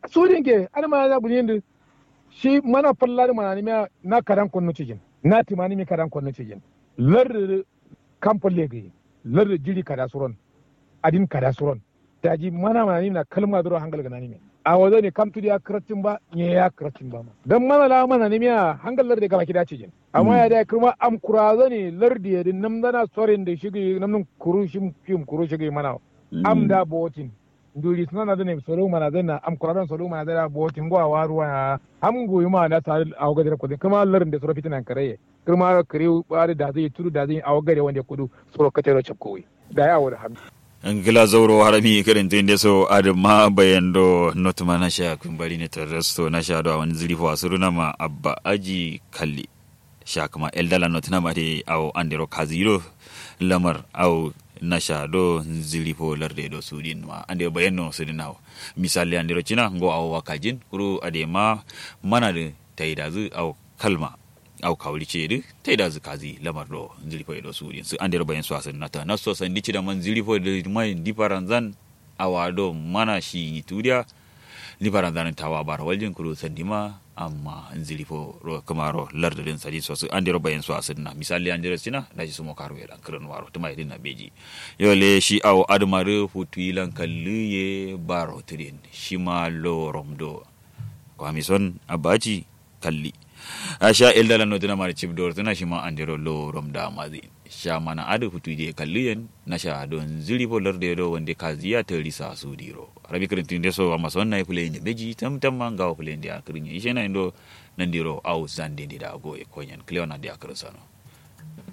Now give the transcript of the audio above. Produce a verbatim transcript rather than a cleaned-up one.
Sudin ke adǝ mana za buliyin dǝ. Shi mana falla dǝ mananǝmiya na kadan konnu cijin, na tǝmanǝmi kadan konnu cijin. Lardǝ dǝ kam falle gǝyi. Lardǝ jiɍi kada suron, adin kada suron. Daji mana mananǝmi na kalma dǝro hangal gǝnanǝmi. Awo done kam tudiya kǝraccin ba, nyeya kǝraccin ba ma dan mana la mananǝmiya hangal lardǝ gabaki da cijin. Amma ya dai kǝrma am kura done lardǝ ye dǝ namzana sorin dǝ shigǝyi namnǝm kuru shim kuru shigǝyi mana. Am da botin. Nduri sǝnana done solo mana done am kura done solo mana done botin ngo awa ruwa ya. Am nguyi ma na sa awo gadera kudin kǝrma lardǝ de soro fitinan karaye. Kǝrma kǝriwu adǝ dazǝ tudu dazǝ awo gade wande kudu. Soro katero cakkuwi. Dayi awo dǝ hami. Ngla zauro harami kǝrintǝ nde so adǝ ma bayan do notǝma nasha kǝmbari ne tarrasto nasha do awon zǝrifo asǝruna ma abba aji kalli. Sha kǝma eldala notǝna ma dai awo andero kazi do lamar awo nasha do zǝrifo larde do sudin ma andero bayan no sudin awo. Misalle andero cina ngo awo wakajin kuru adai ma mana dǝ taidazǝ awo kalma. Au kawuli ce dǝ taidazǝ kazi lamar do nzǝri fai do sudin sǝ andero bayin so asǝn nata naso sandi cida ma nzǝri fo dǝ mai ndi faranzan. Awa do mana shi tudiya. Ndi faranzan tawa bara waljin kuru sandi ma amma nzǝri fo ro kǝma ro lardǝ dǝn sadin so sǝ andero bayin so asǝn na misali andero sina daji sumo karu ye lan kǝrǝn waro tǝma ye dǝn na beji. Yo le shi awo adǝma dǝ futu yilan kallu ye baro tǝdin shima lorom do. Kwami son abaci. Kalli. Asha elda lanno tǝna mare cip dor tǝna shima andero lorom da mazi. Sha mana adǝ futu diye kalli yen nasha do nzǝri fo larde do wande kaziya tari sa sudiro. Rabi kǝrǝntǝ nde so amma son nayi fule inde beji tam tam ma ngawo fule inde a kǝrǝnye ishe na indo. Nandiro au zande nde da goye konyen klewa nande a kǝrǝn sano.